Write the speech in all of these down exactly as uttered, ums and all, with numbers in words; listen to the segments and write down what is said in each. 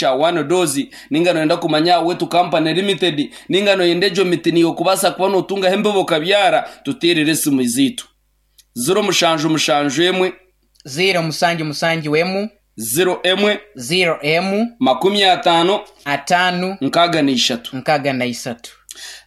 Kya One Dose, ninga noyenda kumanya Wetu Company Limited, ninga noyenda egyo miti niyo kubaasa kuba notungaho embibo okabyara, tuteerere esimu ziitu ziro mushanju mushanju emwe, ziro musanju musanju emu, ziro emwe, ziro emu, makumi ataano, ataano, nkaaga na ishatu, nkaaga na isatu,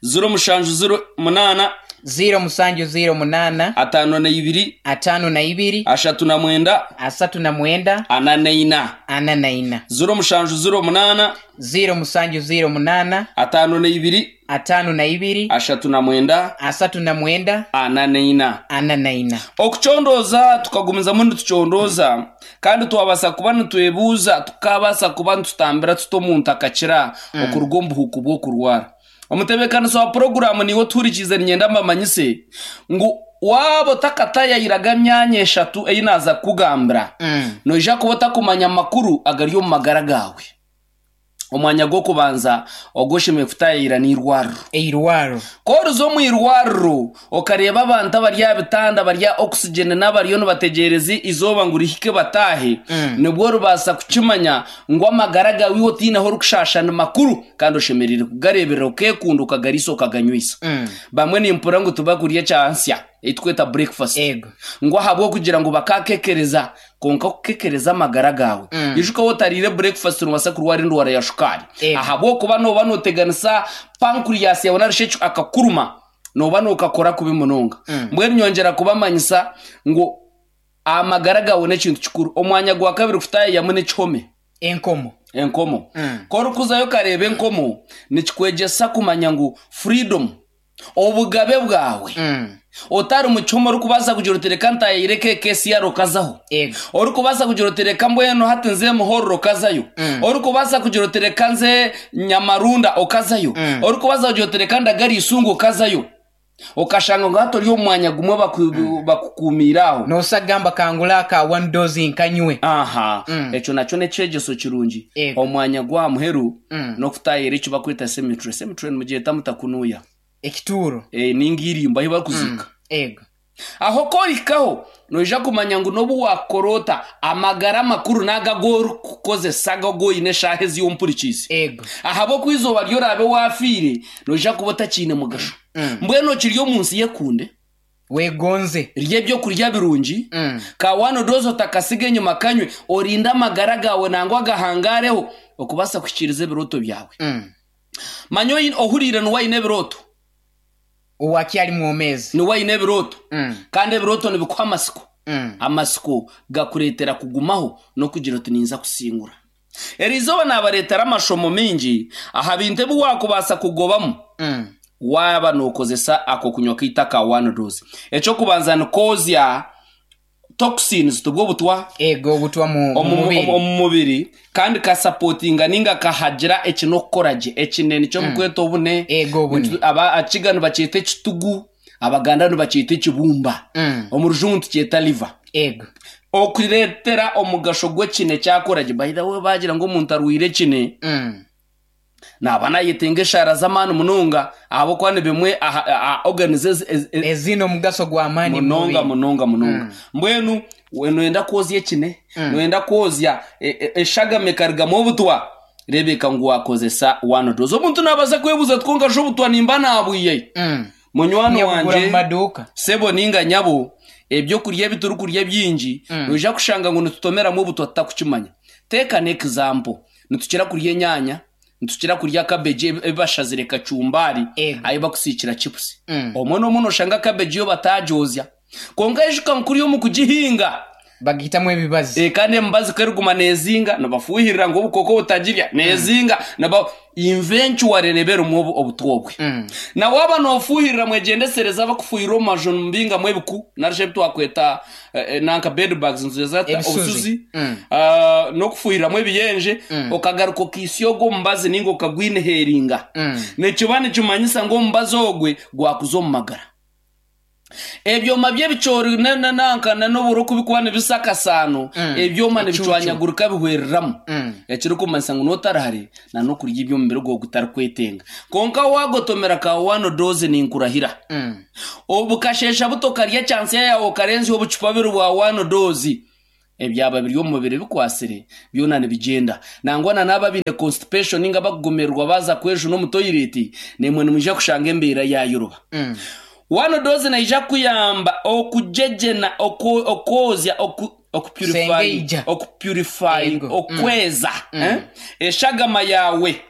ziro mushanju ziro munaana, ziro musanju ziro munaana, ataano na ibiri, ataano na ibiri, ashatu na mwenda, asatu na mwenda, ana na ina, ana na ina, ziro mushanju ziro munaana, ziro musanju ziro munaana, ataano na ibiri, ataano na ibiri, ashatu na mwenda, asatu na mwenda, ana na ina, ana na ina. Okucondooza tukagumizamu nitucondooza, kandi twabasa kuba nitwebuuza, tukabasa kuba nitutambira tuta omuntu akakira okuruga omu buhuuku bw'okurwara. Omutebeekanisa wa puroguramu niwe otuhurikiize, niinyenda mbamanyise ngu waaba otakatayayiraga myanya eshatu ei naaza kukugambira, Mm. noija kuba otakumanya amakuru agari omu magara gaawe. Omwanya gw'okubanza ogwoshemereire kutayayira n'eirwariro. Eirwaro. Koruza omu irwariro okareeba abantu abari aha bitanda bari aha oxygen n'abariyo nibategyereza izooba ngu rihike bataahe, Mm. nibwo oribaasa kukimanya ngu amagara gaawe iwe otaineho orikushasha ni makuru, kandi oshemereire kugareeberera, okeekunda, okagariisa, okaganywisa. Mm. Bamwe nimpurira ngu tibakurya ekyansya eitweta breakfast, Ego. ngu ahabw'okugira ngu bakakekereza. Konka kukekereza amagara gaawe, Mm. ijuka wotariire breakfast nobaasa kurwara endwara ya shukaari, Ego. ahabw'okuba nooba nooteganisa pancreas yawe narishi ekyo akakuruma nooba nookakora kubi munonga. Mm. Mbwenu nyongyera kubamanyisa ngu amagara gaawe n'ekintu kikuru. Omwanya gwa kabiri kutayayamu n'ekihome. Enkomo. Enkomo. Mm. Korikuzayo ukareeba enkomo, nikikwegyesa kumanya ngu freedom, obugabe bwawe, Mm. otari mu kihome orikubaasa kugira oti reka ntayayire K C R, okazaho. Ego. Orikubaasa kugira oti reka mbwenu hati nze Muhororo, okazayo. Mm. Orikubaasa kugira oti reka nze Nyamarunda, okazayo. Mm. Orikubaasa kugira oti reka ndagara Isungu, okazayo, okashanga ngu hati ori omu mwanya gumwe baku- bakukuumiire aho. Nosagamba kangula aka One Dose nkanywe. Aha. Mm. Ekyo nakyo nekyegeso kirungi. Ego. Omwanya gwa muheru Mm. n'okutayira eki bakweta cemetery. Cemetery nimugyeta mutakunuya? Ekituuro. E, ninga irimbo ahi barikuziika. Ego. Aho korikaho noija kumanya ngu n'obu wakorota, amagara makuru naga gorikukozesa ago goine eshaaha ezi ompurikiize, Ego. ahabw'oku izooba ryorabe wafiire noija kuba otakiine mugasho. Mm. Mbwenu okiri omu nsi yekunde, Wegonze. Rya ebyokurya birungi, Mm. ka One Dose otakasiga enyuma, kanywe, orinde amagara gawe nangwa agahangareho okubaasa kuhikiiriza ebirooto byawe. Mm. Manya oyi- ohuriire niwe aine ebirooto. Owakyali mwomezi. Niwe aine ebirooto. Mm. Kandi ebirooto nibikuha amasiko. Mm. Amasiko gakureetera kugumaho n'okugira oti ninza kusingura. Eri izooba naabareetera amashomo mingi aha bintu ebi wakubaasa kugobamu Mm. waaba nookozesa ako kunywa kaita ka One Dose. Ekyokubanza nikozya toxins, tubwo obutwa. Ego, obutwa mu mu omu mubiri. Omu mubiri, kandi kasupportinga ninga kahagira ekinokukora gye ekinene kyomukweta obune. Ego, obune. Nitu- aba akiga nibakyeta ekitugu, Abaganda nibakyeta ekibumba, Mm. omu Rujungu tukyeta liver. Ego. Okureetera omugasho gw'ekine kyakora gye. By the way, bagira ngu omuntu arwire ekine, Mm. naba nayetenga eshaara z'amaani munonga, ahabw'okuba ni bimwe aha- aha- organs ezi- ezi- Ezina omugaso gw'amaani mu munonga, mubiri. Munonga munonga. Mbwenu we noyenda kwozya ekine, noyenda kwozya e- e- eshagama ekarigamu obutwa, rebeka ngu wakozesa One Dose. Omuntu nabaasa kwebuuza twonka sho obutwa nimba nabwiye? Mm. Munywani Nyakugura mu wanje, maduuka. Sebo ninga nyabo, ebyokurya ebi turikurya bingi, Mm. noija kushanga ngu nitutomeramu obutwa tutakukimanya. Teeka n'example, nitukira kurya enyanya, nitukira kurya cabbage ebi bashazire kacumbari, Ego. ayi bakusiikira chips. Mm. Omwe n'omwe noshanga cabbage yo batagyozya, konka ijuka nkuri omu kugihinga Bagitamu ebibazi. e, kandi emibazi keriguma nezinga, nibafuhirira ngu obukoko butagirya, nezinga niba eventually neberimu obu- obutwobwe. Mm. Na waba nofuhirira, mwegyendesereza abakufuhirira omu maju mbingamu ebiku narisho ebi twakweta eh, eh, nanka bed bugs nzeta. Ebisuzi. Obusuzi. Mm. Ah, n'okufuhiriramu ebiyenje, Mm. okagaruka okisya ogwo omubazi ninga okagwineheringa, Mm. nikiba nikimanyisa ngu omubazi ogwe gwakuza omu magara. Ebyoma by'ebicoori na- na- nanka na n'oburo kubikuba nibisa akasaano, Mm. ebyoma Ecucu. nibicwanyagurika bihwereramu, Mm. ekirikumanyisa ngu notarahare na n'okurya eby'omubiri gwawe gutarikwetenga. Konka wagotomera ka One Dose, ninkurahira, Mm. obukashesha buto karya chansi yawe, okarenzya obucupa bubiri bwa One Dose. Ebyaba biri omu mubiri bikwasire byona nibigyenda. Nangwa na n'aba baine constipation ninga bakugumirwa baza kwejuna omu toilet, nemwe nimwija kushanga embeera yayoroba. Mm. One dose naija kuyamba okujejena, oku- okwozya, oku okupurify, Sengeija. okupurify, Ego. okweza, eh? Eshagama yawe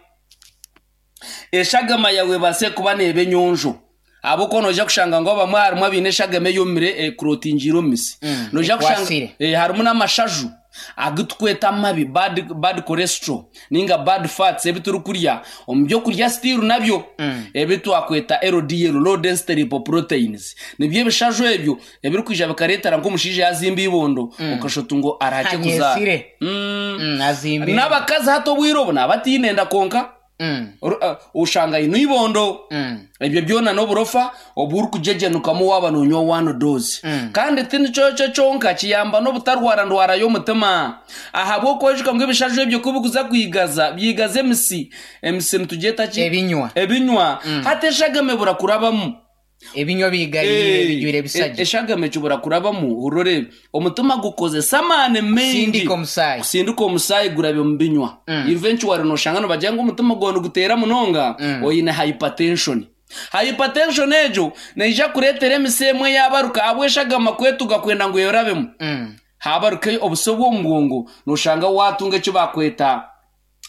eshagama yawe base kuba neeba enyonjo, ahabw'okuba noija kushanga ngu abamwe harimu abaine eshagama eyomire, ekurotingiire omu misi. Mm, Noija kushanga ekwasire. eh, harimu n'amashaju agu tukweta amabi, bad, bad cholesterol ninga bad fats, ebi turikurya omu byokurya still nabyo Mm. ebi twakweta L D L, low density lipoproteins, nibyo ebishaju ebyo ebirikwija bikareetera nk'omushaija yazimba ibondo, okashota ngo arahake kuzaara. Anyesire. Mm. Mm, azimbire. N'abakazi hati obwire obu nabatiine enda konka Mm. Oru- uh, ushanga ino ibondo. Mm. Ebyo byona n'oburofa oburikujejenukamu waaba nonywa one dose. Mm. Kandi tinikyo kyo kyonka, kiyamba n'obutarwara ndwara y'omutima, ahabw'okwijuka ngu ebishaju ebyo kubikuza kwigaza, byigaza emisi. Emisi nitugyeta ki? Ebinywa. Ebinywa. Hati eshagama ebura kurabamu. Ebinywa bigaire, Eh, bijwire e- ebisajja. Eshagama ekibura kurabamu, urore omutima gukozesa amaani maingi Sindika omusaayi. Kusindika omusaayi gurabe mu binywa. Mm. Eventually noshanga nibagira ngu omutima gwawe niguteera munonga, Mm. oine hypertension. Hypertension egyo neija kureetera emisi emwe yabaruka ahabw'eshagama kwetuga kwenda ngu yorabemu. Mm. Habaruka obuso bw'omu bwongo, noshanga watunga eki bakweta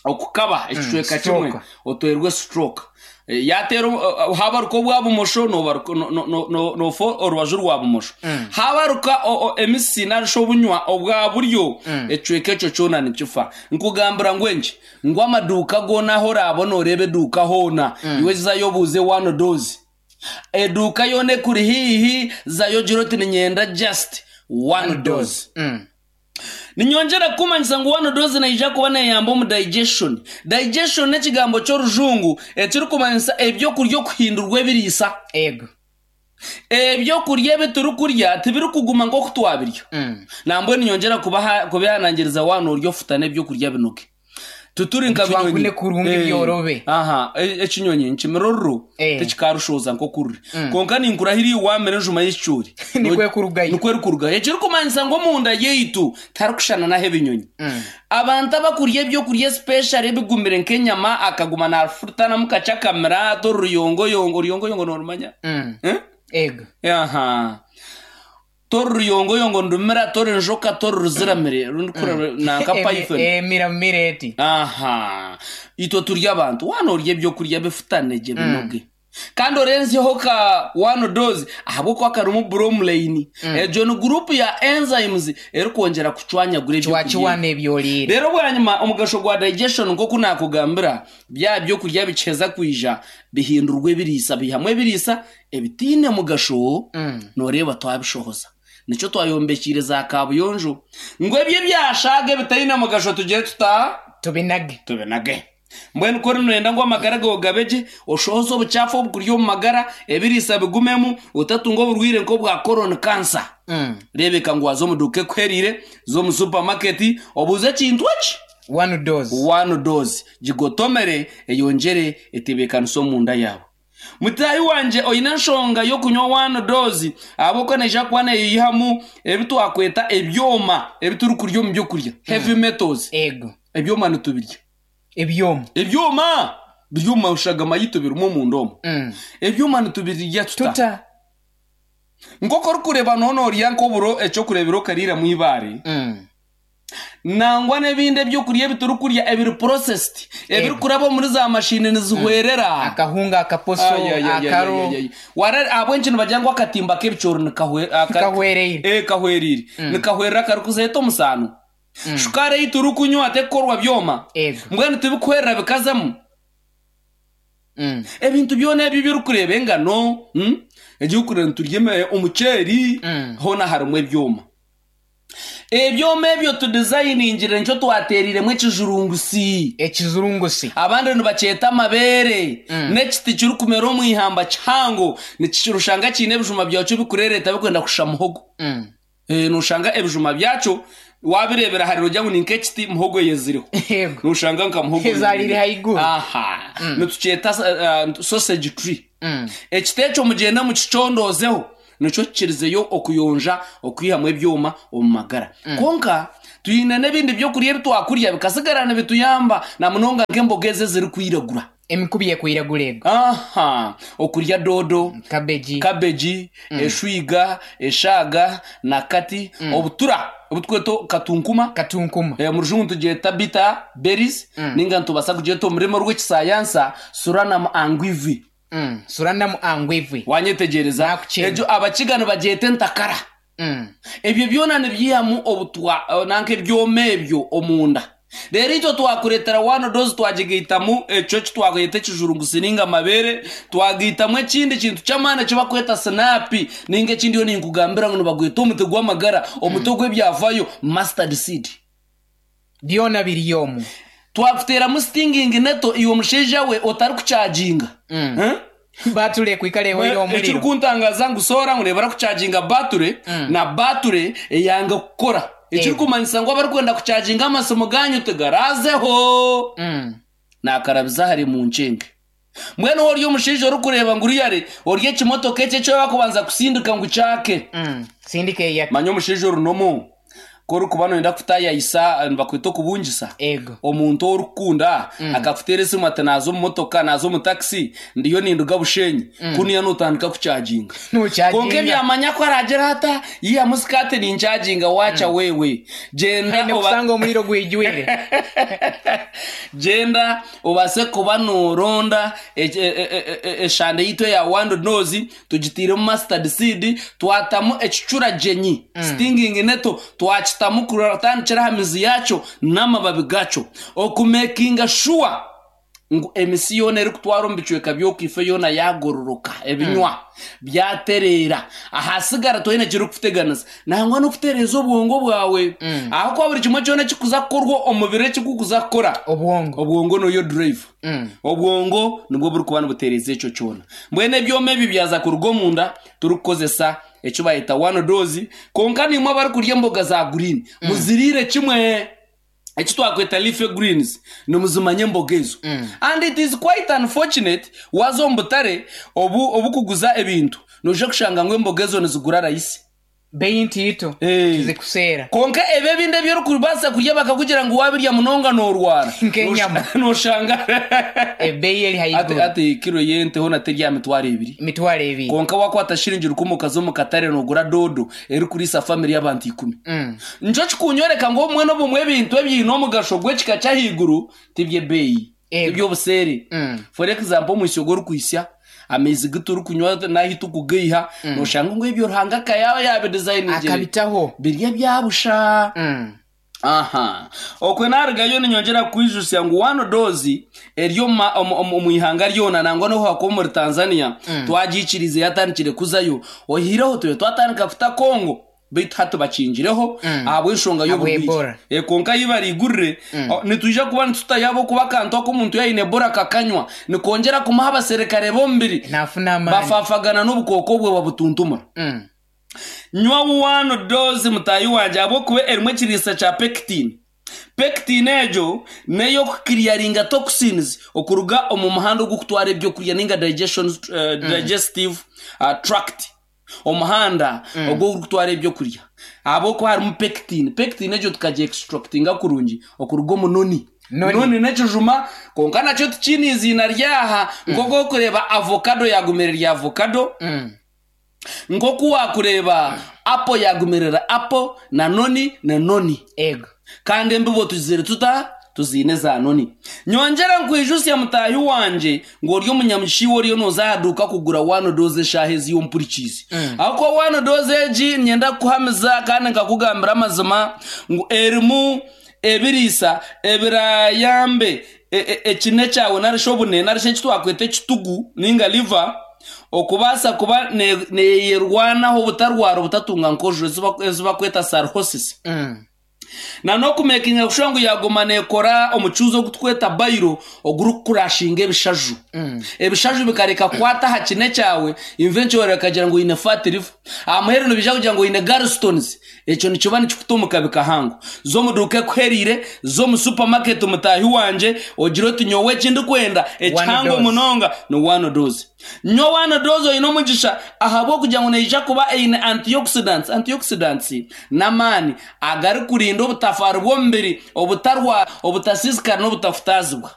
okukaba ekicweka kimwe. Stroke. Otwerwe stroke. Eh, yateera uh, habaruka obwa bumosho, nobaruka- no- no- no- no- nofa orubaju rwa bumosho. Mm. Habaruka o- o- emisi narisha obunywa obwa buryo, Mm. ekicweka ekyo kyona nikifa. Nkugambira ngu enki, ngu amaduuka goona aho orabona, oreeba eduuka hoona, iwe zayo obuuze one dose. Eduuka yoona ekuri hiihi, zayo gira oti ninyenda just one dose. Mm. Ninyongera kumanyisa ngu one dose naija kuba neyamba omu digestion. Digestion n'ekigambo ky'orujungu ekirikumanyisa ebyokurya okuhindurwa ebiriisa. Ego. Ebyokurya ebi turikurya tibirikuguma nk'oku twabirya. Mm. Nambwe ninyongera kubaha- kubihanangiriza wana orya ofutana ebyokurya binoge, tuturi nka Bitwankune binyonyi. kurungi, Eh, byorobe. Aha, e- ekinyonyi nkimira oruro, Eh. tikikarushoza nk'okururi, konka ninkurahira wamira enjuma y'ekicoori, Nikwo ekurugayo. Nikwo erikurugayo, ekirikumanyisa ngu omunda yaitu tarikushana naho ebinyonyi. Mm. Abantu abakurya ebyokurya special ebigumire nk'enyama, akaguma nafutanamu kakye akamira tori ruyongoyongo. Ruyongoyongo norumanya? Mm. Eh? Ego. Aha, tori ruyongoyongo ndumira, tori njoka, tori ruziramire rundi kureba nanka python. Emira mireti. Aha, itwe turya abantu wana orya ebyokurya bifutanegye, binoge, kandi orenzeho ka one dose, ahabwokuba karimu bromelain. Egyo ni group ya enzymes erikwongera kucwanyagura ebyokurya. Kiwakiwana ebyoliire. Rero bwanyuma omugasho gwa digestion, nk'oku nakugambira, bya byokurya bikiheza kwija bihindurwa ebiriisa, bihamu ebiriisa ebitiine mugasho. Mm. Noreeba twabishohoza, nikyo twayombekiire za kabuyonjo, ngu ebyo ebyashaga ebitaine mugasho tugire tuta? Tubinage. Tubinage. Mbwenu kuri noyenda ngu amagara gawe gabe gye, oshohoze obucaafu obukuri omu magara, ebiriisa bigumemu, otatunga oburwire nk'obwa colon cancer. Mm. Reebeka ngu waza omu duuka ekuherire z'omu supermarket, obuuze ekintu eki? One dose. One dose, gigotomere, eyongyere etebeekanisa omunda yawe. Mutahi wanje, oine enshonga y'okunywa one dose, ahabw'okuba neija kuba neyihamu ebi twakweta ebyoma ebi turikurya omu byokurya, heavy metals. Ego. Ebyoma nitubirya. Ebyoma. Ebyoma biri omu mashagama yitu, birimu omunda omu. Mm. Ebyoma nitubirya tuta? Tuta. Nk'oku orikureeba noona orya nk'oburo, ekyokureebera okariiramu ibaare. Mm. Nangwa n'ebindi ebyokurya ebi turikurya ebiri processed, ebirikuraba muri za mashini, nizihwerera. Akahunga, akaposo, Ay, ay, ay, ay, akaro. ay, ay. Wara ahabw'enki nibagira ngu akatimba k'ebicoori nikahwe- aka- Kahwereire. Eh, kahwerire, nikahwerera, karikuzeta omusaano. Shukaari ei turikunywa tekukorwa byoma? Ego. Mbwenu tibikuhwerera bikazamu. Mm. Ebintu byona ebyo byorikureeba, engano, mm? Egyokureba niturya eme- omuceeri, Mm. hoona harimu ebyoma. Ebyoma ebyo tudizayiningire, nikyo twateeriremu ekijurungusi. Ekizurungusi. Abandi nibakyeta amabeere. Mm. N'ekiti kirikumera omu ihamba kihango, nikirushanga kiine ebijuma byakyo bikurereeta, bikwenda kushusha muhogo. Mm. Eh, noshanga ebijuma byakyo wabirebera hari ogira ngu ni nk'ekiti muhogo yezireho. Ego. Noshanga nka muhogo Ezarire haiguru. Aha, nitukyeta uh, sausage tree. Mm. Ekiti ekyo mugenda mukicondozeho. Nikyo kikirizeyo okuyonja okwihamu ebyoma omu magara. Konka twine n'ebindi byokurya ebi twakurya bikasigara nibituyamba, na munonga nk'emboga ezi ezirikwiragura. Emikubi ekwiragura ego. Aha, okurya dodo, kabeji, kabeji, eshwiga, eshaga, nakati, obutura obutweta katunkuma. Katunkuma. Eh, mu Rujungu tugyeta bitter berries, ninga nitubasa kugyeta omu rurimi rw'ekisayansa Solanum anguivi. Mm. Solanum anguivi. Wanyetegyereza? Nakukyenda. Egyo abakiga nibagyeta entakara. Mm. Ebyo byona nibyihamu obutwa eh, nanka ebyoma ebyo omunda. Rero itwe twakureetera One Dose, twagigaitamu ekyo kitwakweta ekijurungusi ninga amabere, twagaitamu ekindi kintu ky'amaani ekibakweta sinapi, ninga ekindi yo ninkugambira ngu nibagweta omuti gw'amagara, omuti ogw'ebyavayo, mustard seed. Byona biri omu. Twakuteeramu stinging nettle, iwe omushaija we otarikucaginga. Mm. Eh? Batule kwikala ehoire omuliro. Ekirikuntangaza ngu soora ngu nebara kucaginga bature na bature eyanga kukora, ekirikumanyisa ngu abarikwenda kucaginga amasimu ganyu tigarazeho. Mm. Nakarabiza hari mu nkyenge. Mbwenu ori omushaija orikureeba ngu riyare ori ekimotoka ekyo ekyo bakubanza kusindika ngu kyake. Mm. Sindika eyake. Manya omushaija orunomu korikuba noyenda kutayayisa, nibakweta okubungisa Ego. omuntu orikukunda, akakuteera esimu ati naaza omu motoka, naaza omu takisi, ndiyo ninduga Bushenyi, kuniya notandika kucaginga. Konka Nuchaginga. ebyamanya ko aragira ata yihamu sikati, nincaginga, wacha wewe genda. Haine Oba- kusanga omuliro gwijwire. Genda obase kuba noronda e- e- e- e- eshande yitu eya One Dose, tugitiiremu mustard seed, twatamu ekicuragyenyi, stinging nettle, twakitamu kuratandikira aha mizi yakyo n'amababi gakyo, okumakinga sure ngu emisi yoona erikutwara omu bicweka by'okwife yoona yagororoka, ebinywa byatereera, ahasigara toine kirikukuteganisa, nangwa n'okutereeza obwongo bwawe, ahakuba buri kimwe kyona ekikuza kukorwa omubiri ekikukuza kukora Obwongo. Obwongo noyo drive. Mm. Obwongo nibwo burikuba nibutereeza ekyo kyona. Mbwenu ebyoma ebi byaza kuruga omunda turikukozesa ekyo bayeta One Dose. Konka nimwe abarikurya emboga za green, muziriire kimwe eki twakweta leafy greens, nimuzimanya emboga ezo. And it is quite unfortunate, waza omu butare obu obukuguza ebintu, noija kushanga ngu emboga ezo nizigura rahisi. Bei ntiito. Eh. Tizikuseera. Konka ebyo ebindi ebyorikubaasa kurya bakakugira ngu wabirya munonga norwara. Nk'enyama. Noshanga Ebeyi eri ati, haiguru. Ati kiro yente hona terya mitwaro ebiri. Emitwaro ebiri. Konka wakwata shiringi rukumi okaza omu katare nogura dodo erikuriisa family y'abantu ikumi. Mm. Nikyo kikunyoreka ngu obumwe n'obumwe ebintu ebiine omugasho gw'ekika ky'ahaiguru tibyebeeyi, Ego. tibyobuseere. Mm. For example, omwisyo gw'orikwisya, amaizi giturikunywa nahi tukugaiha, noshanga ngu ebyo Ruhanga akayaba yabidesigningire Akabitaho. birya byabusha. Mm. Aha, okwe narugayo ninyongera kwijusya ngu One Dose eri omu ma- omu- omu omu ihanga ryona, nangwa nohako muri Tanzania twagiikirize, yatandikire kuzayo. Ohireho tube twatandika kuta Kongo, baitu hati bakingireho ahabw'enshonga y'oburwaire. Ebola. Eh, konka yi barigurire, o, nitwija kuba nitutayabo kuba akantu ako omuntu yaine Ebola kakanywa nikongera kumuha abaserikare b'omubiri Nafuna amaani. bafafagana n'obukooko bwe babutuntumura. Mm. Nywa One Dose, mutayi wanje, ahabwokuba erimu ekiriisa kya pectin. Pectin egyo ney'okukiriyaringa toxins okuruga omu muhanda ogukutwara ebyokurya ninga digestion, uh, digestive uh, tract, omuhanda ogwo ogurikutwara ebyokurya, ahabwokuba harimu pectin. Pectin egyo tukagiextractinga kurungi okuruga omu noni. Noni. Noni n'ekijuma, konka nakyo tikiine iziina ryaha, nk'oku okureba avocado yagumire rya avocado, Mm. nkoku wakureeba apple yagumirira apple, na noni na noni. Ego. Kandi embibo tuzire tuta tuziine za noni. Nyongera nkwijusya, mutahi wanje, ngu ori omunyamushiwe oriyo noza ahaduuka kugura One Dose eshaaha ezi yompurikiizi, ahakuba One Dose egi nyenda kukuhamiza kandi nkakugambira amazima ngu erimu ebiriisa ebirayambe e- e- ekine kyawe narishi obune narishi eki twakweta ekitugu ninga liver okubaasa kuba ne- neyerwanaho obutarwara, obutatunga nkojo ezi bakweta cirrhosis, Mm. na n'okumekinga kushuba ngu yaguma nekora omucuuzi ogutweta bile ogurikukurashinga ebishaju, ebishaju bikareka kukwata aha kine kyawe, eventually akagira ngu oine fatty liver. Aha muheru nibija kugira ngu oine gallstones, ekyo nikiba nikikuta omu kabi kahango. Z'omuduuka ekuheriire, z'omu supermarket, mutaahi wangye, ogire oti nyowe ekindikwenda ekihango dose. Munonga ni one dose. Nywa one dose, oine omugisha, ahabw'okugira ngu neija kuba eine antioxidants. Antioxidants n'amaani agarikurinda obutafaari bw'omubiri obutarwa, obutasiisikara n'obutafutaazibwa.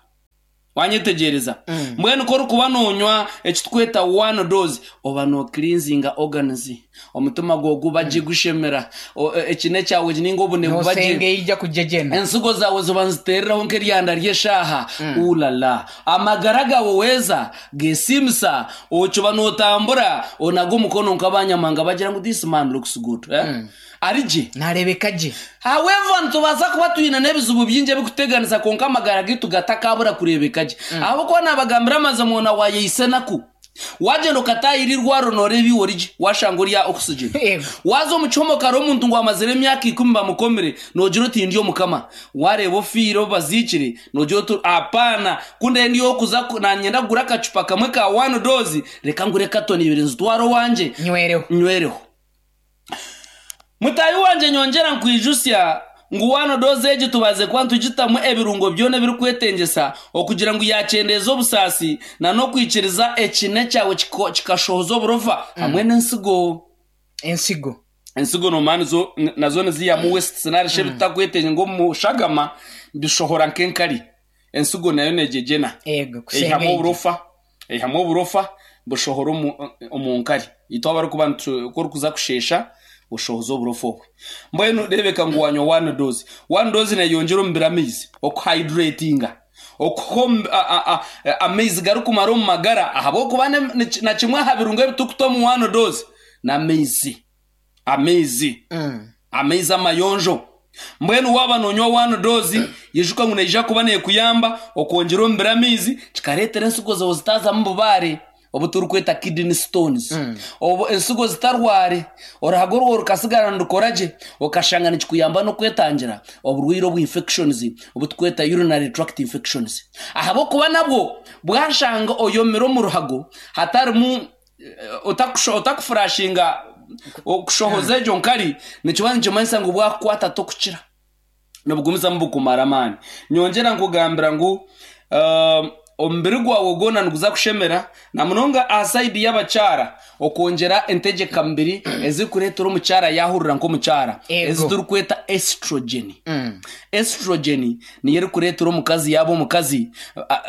Wanyetegereza? Mbwenu ko orikuba noonywa ekitukweta one dose, oba nocleansinga organs, omutima gwawe guba gye, gushemera. O- e- ekine kyawe ninga obune buba gye. Nosenge ija kujejena. Ensigo zawe ziba nizitereraho nk'eryanda ry'eshaaha. Ulala, amagara gawe weeza gesimisa, okiba notambura onaga omukono nk'abanyamanga bagira ngu, "This man looks good," eh? Ari gye. Narebeka gye. However, nitubaasa kuba twine n'ebizibu bingi ebikuteganisa, konka amagara gitu gatakabura kurebeka gye, ahabwokuba nabagambira amazima, ona wayeise naku wagyenda okatahira irwaro noreeba iwe origye, washanga orya oxygen. Yego. Waza omu kihome kare omuntu ngu amazire emyaka ikumi bamukomire, nogira oti ndi omukama. Wareeba ofiire baziikire, nogira oti apaana kunde ndi okuza ku- nanyenda kugura akacupa kamwe ka one dose, reka ngure katoni ibiri nzitware owangye. Nywereho. Nywereho, mutayi wanje. Nyongera nkwijusya ngu one dose egi tubaze kuba ntugitamu ebirungo byona ebirikwetengesa okugira ngu yakyendeeza obusaasi na n'okwikiriza ekine kyawe kiko- kikashohoza oburofa hamwe n'ensigo. Ensigo. Ensigo nomani zo nazo niziyamu waste narishe bitakwetenge ngo mushagama bishohora nk'enkari. Ensigo nayo negyegyena. Ego. Eihamu Kusenge. oburofa, eihamu oburofa bushohora omu- omu nkari. Itwe abarikuba nitu- ku orikuza kushesha bushohoza oburofa obwe. Mbwenu rebeka ngu wanywa one dose. One dose neyongyera omubiri amaizi, okuhydratinga, okuha omu- a- a- a- amaizi garikumara omu magara, ahabwokuba ne- ni- na kimwe aha birungo ebitukuta omu one dose n'amaizi, amaizi, Mm. amaizi amayonjo. Mbwenu waba nonywa one dose, yijuka ngu neija kuba nekuyamba okwongyera omubiri amaizi, kikareetera ensigo zawe zitazamu bubaare obu turikweta kidney stones, obu ensigo zitarware, oruhago rwawe rukasigara nirukora gye, okashanga nikikuyamba n'okwetangira oburwaire obu infections obu tukweta urinary tract infections, ahabwokuba nabwo bwashanga oyomire omu ruhago hatarimu eh, otakusho- otakufurashinga okushohoza egyo nkari, nikiba nikimanyisa ngu bwakukwata tokukira, nibugumizamu bukumara amaani. Nyongera nkugambira ngu um, omubiri gwawe gwona niguza kushemera, na munonga aha side y'abakyara, okwongyera entegeka mubiri ezikureetera omukyara yahurira nk'omukyara, Ego. ezi turikweta estrogen. Mm. Estrogen niyo erikureetera omukazi yaba omukazi.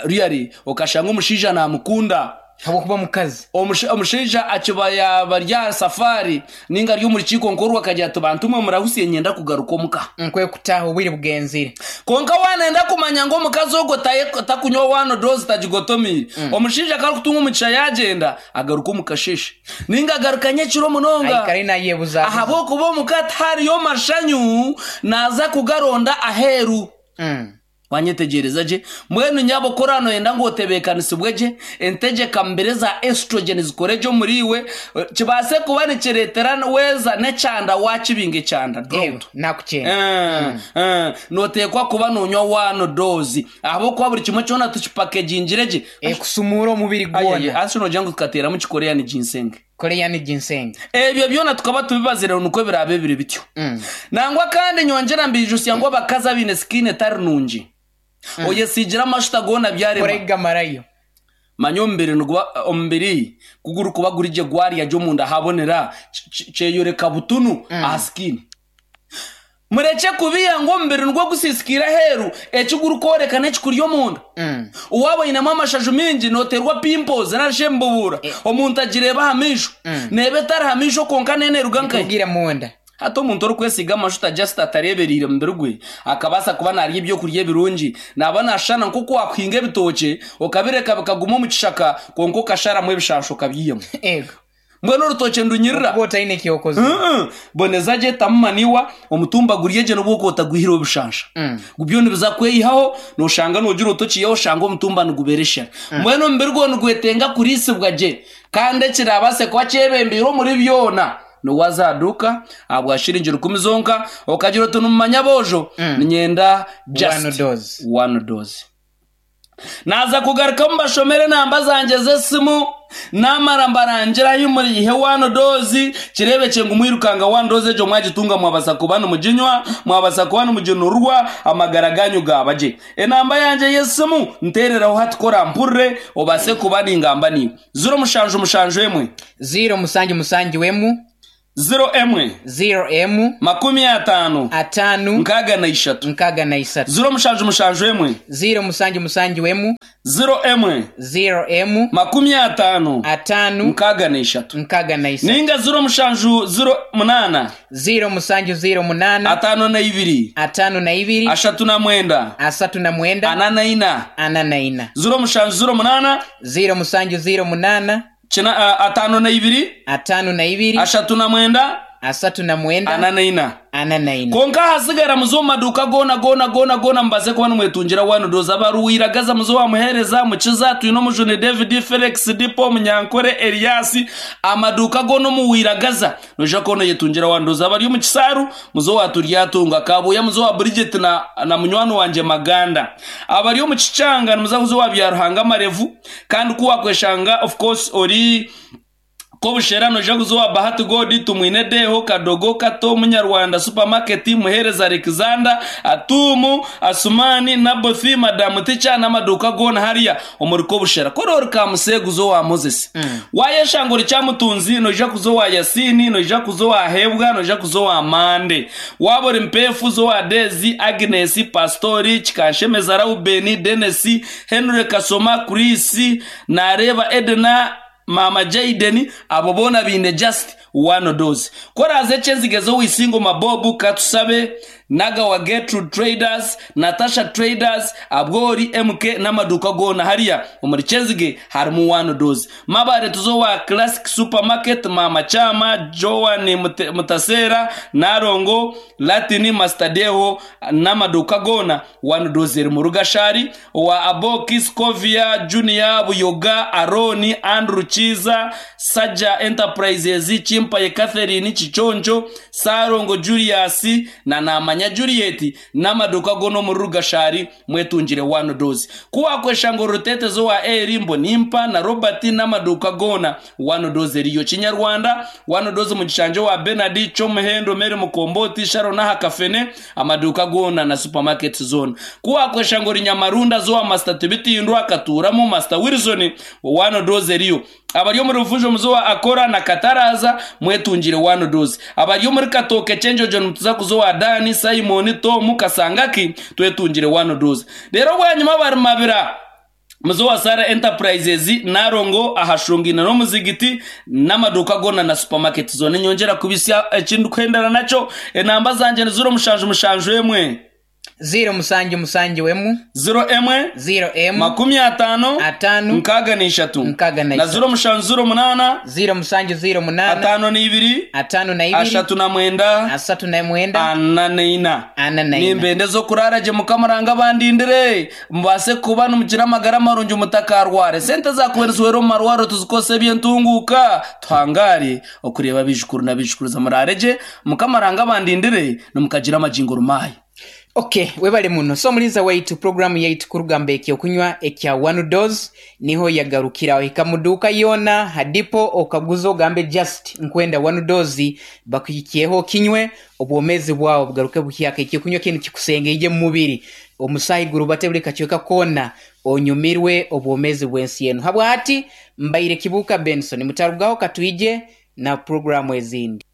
Really, okashanga omushaija namukunda. Habwokuba mukazi. Omusha- omushaija akiba yaba rya safari ninga ari omu rukiiko nkorwa, akagira ati, "Bantu mwe murahusiye, nyenda kugaruka omuka." Nkwe kutaha obwire bugenzire. Konka wanenda kumanya ngu omukazi ogwo taye- takunywa one dose, tagigotomire, omushaija karikutunga omugisha yagenda, agaruka omu kasheshe ninga agaruka nyekiro munonga. Aikare nayebuza. Ahabwokuba omuka tihariyo mashanyu, naza kugaronda aheeru. Mm. Wanyetegereza gye? Mbwenu nyabo, korano noyenda ngu otebeekanisibwe gye, entegeka mbere za estrogen zikore gye omuri iwe, kibaase kuba nikireetera weeza n'ekyanda wakibinga ekyanda Ego. drought. Nakukyenda. Eh, eh, noteekwa kuba nonywa one dose, ahabwokuba buri kimwe kyona tukipakegingire gye. Ekusumura omubiri gwona. Asi nogira ngu tukateeramu kikoreani ginseng. Korean ginseng. Ebyo byona tukaba tubibazire nukwo biraabe biri bityo. Mm. Nangwa kandi nyongera mbijusya ngu abakazi abaine skin etari nungi, oyesigira amashuta goona byarema. Koregamarayo. Manya omubiri niguba omubiri kuguri kuba guri gye, gwarya gye omunda habonera, ki- ki- kyeyoreka butunu aha skin. Mureke kubiya ngu omubiri nigwo gusisikira aheeru, ekigurikworeka n'ekikuri omunda. Mm. Uwaba oyinemu amashaju mingi, noterwa pimples narishe embubura, omuntu agireeba aha maisho, neeba etari aha maisho konka neneruga nkahi? Kugira munda. Hati omuntu orikwesiga amashuta just atarebereire mubiri gwe, akabaasa kuba narya ebyokurya ebirungi, naba nashushana nk'oku wakuhinga ebitookye okabireka bikaguma omu kishaka, konka okasharamu ebishasha okabyihamu. Ego. Mbwenu orutookye ndunyirira. Kuba otaine ekyokoze. Mm-mm. Boneza gye, tamu maniwa, omutumba gurye gye nobwo otagwihire obushansha. Mm. Byo nibiza kweyihaho, noshanga nogira otokiyeho, oshanga omutumba nigubereshera. Mbwenu omubiri gwo nigwetenga kurisibwa gye, kandi ekirabase kuba kyebembeire omuri byona niwazaduka ahabwa shiringi rukumi zonka, okagira oti numumanya bojo, ninyenda just One dose. One dose. Naza kugaruka mubashomere namba zanje z'esimu, namara mbarangira ahi muriihe one dose. Kirebekye ngu mwirukanga one dose egyo mwagitunga, mwabasa kuba nimuginywa, mwabasa kuba nimuginurwa, amagara ganyu gabagye. Enamba yangye y'esimu ntereraho hati, kora mpurire obase kuba ningamba niiwe: ziro mushanju mushanju emwe, ziro musanju musanju emu, ziro emwe, ziro emu, makumi ataano, atano, nkaaga na ishatu, nkaga na isatu. ziro mushanju mushanju emwe, ziro musanju musanju emu, ziro emwe, ziro emu, makumi ataano, atano, nkaaga na ishatu, nkaga na isatu. Ninga ziro mushanju ziro munaana, ziro musanju ziro munana, ataano na ibiri, atano na ibiri, ashatu na mwenda, asatu na mwenda, ana na ina. ana na ina. Ziro mushanju ziro munaana, ziro musanju ziro munana, kina a- ataano na ibiri, atano na ibiri, ashatu na mwenda, asatu na mwenda, ana na ina. ana na ina. Konka hasigara muzo mu maduka gona gona gona gona, mbaze kuba nimwetungira one dose. Abaruwiragaza muzo wamuhereza mukiza, twine Omujuni David, Felix Dipo, Munyankore Elias, amaduka gona omuwiragaza noija kubona yetungira one dose. Abari omu Kisaaru muzo waturyatunga, Kabuya muzo wa Bridget na, na munywani wanje Maganda. Abari omu Kichanga nimuza kuzo wa Byaruhanga Marevu, kandi kuwakweshanga of course ori Kobushera noija kuzowa Bahati Godi, Tumwine Deho, Kadogo Kato, Munyarwanda Supermarket, Muhereza Alexander, Atumu Asumani, Nabothi, Madamu Ticha n'amaduka gona hariya omuri Kobushera. Korori Kamusegu wa Moses, mm. wayeshangura Kyamutunzi noija kuzowa Yasini, noija kuzowa Hebwa, noija kuzowa Mande. Wabora Mpefu zowa Dezi, Agnes, Pastori Kikanshemeza, Raubeni, Denesi, Henry Kasoma, Chris Nareba, Edna, Mama Jaden, abo bona bine just one dose. Koraze Kyenzigezo, Wisingo, Mabobu, Katusabe, Nagawa, Gertrude Traders, Natasha Traders, Abwori M K n'amaduka gona hariya omuri Kyenzige harimu one dose. Mabare tuzowa Classic Supermarket, Mama Chama, Joan Mute- Mutasera, Narongo, Latini, Mastadeho n'amaduka gona one dose eri mu Rugashari wa Aboki, Scovia Junior, Buyoga, Aroni, Andrew Chiza, Saja Enterprises, Chimpaye Catherine, Chichonjo, Sarongo Julius na Namanya Juliet n'amaduka gono mu Rugashari mwetungire one dose. Kuwakwesha ngo Rutete zo wa Eri Mbonimpa na Robert n'amaduka gona one dose eriyo. Kinyarwanda one dose mu gishanje wa Bernard Chomuhendo, Mary Mukomboti, Sharon Hakafene, amaduka gona na supermarket zone. Kuwakwesha ngo Rinyamarunda zo wa Master Tibitindwa Katuramo, Master Wilson, one dose eriyo. Abari muri Rufunjo muzo wa Akora na Kataraza mwetungire one dose. Abari muri Katoke Chenjojo mutuza kuzo wa Dani, Simon, Tom Kasangaki, twetungire one dose. Rero bwanyuma bari Mabira muzo wa Sara Enterprises, Narongo ahashungina no muzigiti n'amaduka gona na supermarket zone. Nyongera kubisya ekindi kwendana naco, enamba zanje ni ziro mushanju mushanju emwe, ziro musanju musanju emu, ziro emwe, ziro emu, makumi ataano, atano, nkaaga n'ishatu, nkaaga na na isatu. ziro mushanju ziro munaana, ziro musanju ziro munana, ataano n'ibiri, atano na ibiri, ashatu na mwenda, asatu na mwenda, ana n'ina. ana na ina. Nimbende zo kurara gye, Mukamaranga bandindire, mubase kuba nimukira amagara marungi, mutakarware. Sente zakuherezwera omu marwaro tuzikose ebyentunguka, tuhangare okureba abijukuru n'abijukuruza. Murare gye, Mukamaranga bandindire, nimukagira amagingo rumayi. Okay, webale muno. So mulinza waitu, programu yaitu kurugamba ekyokunywa ekya one dose niho yagarukiraho. Hika muduka yona hadipo okaguza ogambe just nkwenda one dose, bakuhikiyeho kinywe, obwomezi bwawe bugaruke buhyaka. Ekyokunywa kinu kikusengeije mu mubiri, omusahi gurubate buli kacweka kona, onyumirwe obwomezi bw'ensi yenu. Habwati mbaire Kibuka Benson, mutarugaho, katwije na programu ezindi.